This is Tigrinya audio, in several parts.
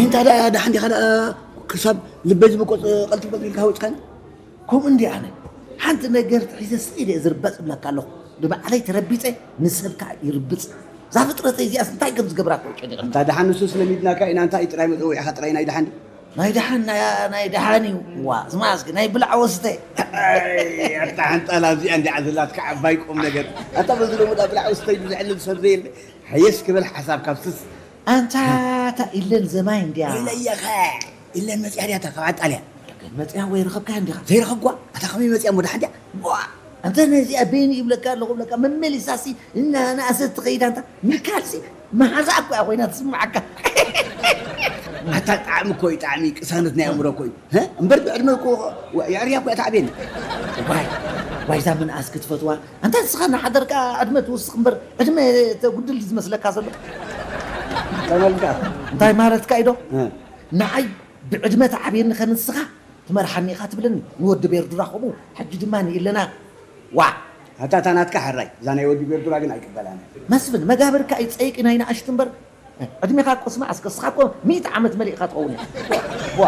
እንታ ደኣ ደሓን ዲኻ ደኣ ክሳብ ልበይ ዝበቆጽ ቀልጢፈ ኢልካ ወጽካኒ? ከምኡ እንዲ ኣነ ሓንቲ ነገር ሒዘ ስኢደ እየ ዝርበጽ እብለካ ኣለኹ። ንባዕለይ ተረቢጸ ንሰብ ከዓ ይርብጽ። እዛ ፍጥረተይ እዚኣስ እንታይ ከም ዝገብራ እኮ ይጨንቐኒ። እንታ ደሓን ንሱስ ለሚድናካ ኢና። እንታይ ጥራይ መጸውዒኻ ጥራይ ናይ ደሓን ድዩ? ናይ ደሓን ናይ ናይ ደሓን እዩ። ዋ ዝማስክ ናይ ብላዕ ወስተ። ኣይ፣ ኣታ ሓንጣላ እዚኣ እንዲዓ ዘላትካ ዓባይ ቁም ነገር። ኣታ በዚ ሎሚ ዳ ብላዕ ወስተይ ብዘዕልል ሰብ ዘየለ። ሃየስ ክበል ሓሳብ ካብ ስስ። ኣንታ እታ ኢለን ዘማይ እንድያ። ኢለየኸ ኢለን መፅያ ድያ እታ ካብ ዓጣልያ? መፅያ ወይ ረኸብካያ እንዲኻ? ዘይረኸብኳ? ኣታ ከመይ መፅያ እሞ ደሓን ድያ? ዋ! ኣንተ ነዚኣ በይኒ ይብለካ ኣለኹ ብለካ መመሊሳሲ እናነኣሰት ትኸይድ ኣንታ ሚካልሲ መሓዛ እኮ እያ ኮይና ትስምዓካ። ኣታ ጣዕሚ እኮ እዩ ጣዕሚ ቅሳነት ናይ ኣእምሮ እኮ እዩ። ሀ? እምበር ብዕድመ እኮ የዕርያ እኮ እያ ታዕቤን። ዋይ ዋይዛ ምንኣስ ክትፈትዋ ኣንታ ንስኻ እናሓደርካ ዕድመ ትውስኽ እምበር ዕድመ ተጉድል ዝመስለካ ዘሎ። እንታይ ማለትካ? እንታይ ማለትካ ኢዶ? እ። ንዓይ ብዕድመ ትዓብየኒ ከ ንስኻ ትመርሓኒ ኢኻ ትብለኒ። ንወዲ ቤርዱራ ከምኡ ሕጂ ድማ ንኢለና ዋ። ኣታ እታ ናትካ ሕራይ እዛ ናይ ወዲ ቤርዱራ ግን ኣይቅበላን። መስፍን መጋብርካ እዩ ጸይቂ ናይ ንኣሽቱ እምበር ዕድሜኻ እኮ ስማዕ እስከ እስኻ እኮ ሚእቲ ዓመት መሊእካ ትኸውን ኢኻ። ዋ፣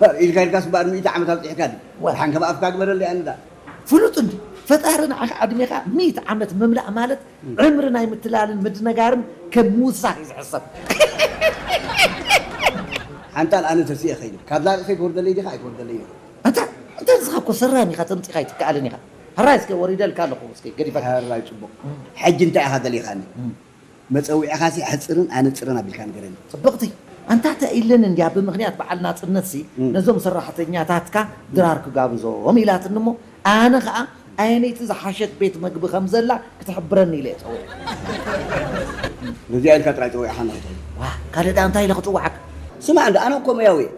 ዋ። ኢልካ ኢልካስ እምበኣር ሚእቲ ዓመት ኣብፂሕካ ድዩ? ዋ። ሓንከብ ኣፍካ ግበረለይ ኣንዳ። ፍሉጥ እንዲ ፈጣሪ ንዓኻ ዕድሜኻ ሚእቲ ዓመት ምምላእ ማለት ዕምሪ ናይ ምትላልን ምድነጋርን ከም ምውሳኽ እዩ ዝሕሰብ። ሓንጣል ኣነ ተሲኤ ኸይደ ካብዛ ርእሰይ ትወርደለይ ዲኻ ኣይትወርደለይ ኢኻ? ኣንታ እንተ ንስኻ እኮ ሰራን ኢኻ ተምፂኻ ኣይትከኣልን ኢኻ። ሕራይ እስከ ወሪደልካ ኣለኹ እስከ ገዲፈካ። ሕራይ ፅቡቕ። ሕጂ እንታይ ኢኻ ደሊኻኒ? መጸውዒኻሲ ሕጽርን ኣነጽርን ኣቢልካ ንገረኒ። ጽብቕቲ ኣንታ ተኢልን እንድያ ብምኽንያት በዓል ናጽነትሲ እም። ነዞም ሰራሕተኛታትካ ድራር ክጋብዞም ኢላትኒ እሞ ኣነ ኸኣ ኣየነይቲ ዝሓሸት ቤት መግቢ ከም ዘላ ክትሕብረኒ ኢለ እየ ጸዊዐ። ነዚኣ ኢልካ ጥራይ ጸዊዕኻና ክትብል። ዋ ካልእ ደኣ እንታይ ኢለ ክጽውዓካ? ስማዕ እንዶ ኣነ እኮ መያዊ እየ።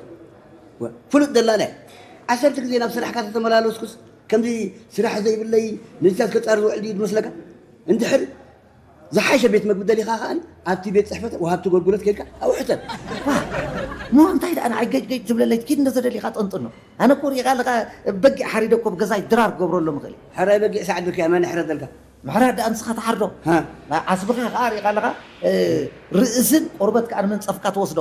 ወ- ፍሉጥ ደላላይ ዓሰርተ ግዜ ናብ ስራሕካ ተተመላለስኩስ ከምዚ ስራሕ ዘይብለይ ንዚታት ከጻሪ ዝውዕል ድዩ ዝመስለካ? እንድሕር ዝሓሸ ቤት መግቢ ደሊኻ ከኣ ኣብቲ ቤት ጽሕፈት ወሃብቲ ኣገልግሎት ከይድካ ኣብኡ ሕተት። እሞ እንታይ ደኣ ንዓይ ገጭ ገጭ ትብለለይ ኪድ እንደ ዘደሊኻ ጠንጥኖ። ኣነ እኮ ሪኢኻ ኣለኻ በጊዕ ሓሪደ እኮ ብገዛይ ድራር ክገብረሎም እኽእል እየ። ሕራይ በጊዕ ሳዕድካ እያ መን ሕረደልካ? ምሕራድ ደኣ ንስኻ ትሓርዶ። ሃ። ዓስብኻ ከኣ ሪኢኻ ኣለኻ ርእስን ቆርበት ከኣ ንመንጸፍካ ትወስዶ።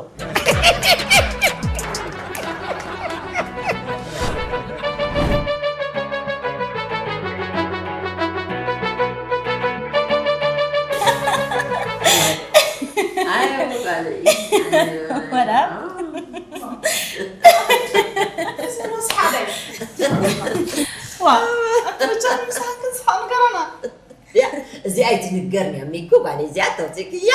እዚኣ ኣይትንገርኒ ሚኩ ጓለይ እዚኣ ተውፅእክያ።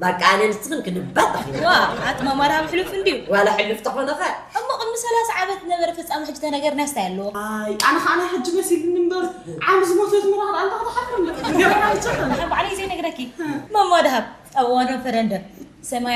በቃ ኣነ ንስኽን ክንባባዕ ኢና። ዋ ኣቲ ማማ ዳሃብ ሕሉፍ እንድዩ። ዋላ ሕሉፍ ተኾነ ኸ። እሞ ቅድሚ ሰላሳ ዓመት ነበረ ፍጻመ ሕጂ ተነገርና ስታይ ኣለዎ። ኣይ ኣነ ኸዓ ናይ ሕጂ መሲልኒ እምበር ዓሚ ዝሞተት ምራኽ ደኣ እንታይ ክትሓፍር እንደ ገበና ይጨኸን። ንሓን ባዕለይ ዘይነግረኪ ማማ ዳሃብ ኣብ እዋን ረፈረንደም ሰማይ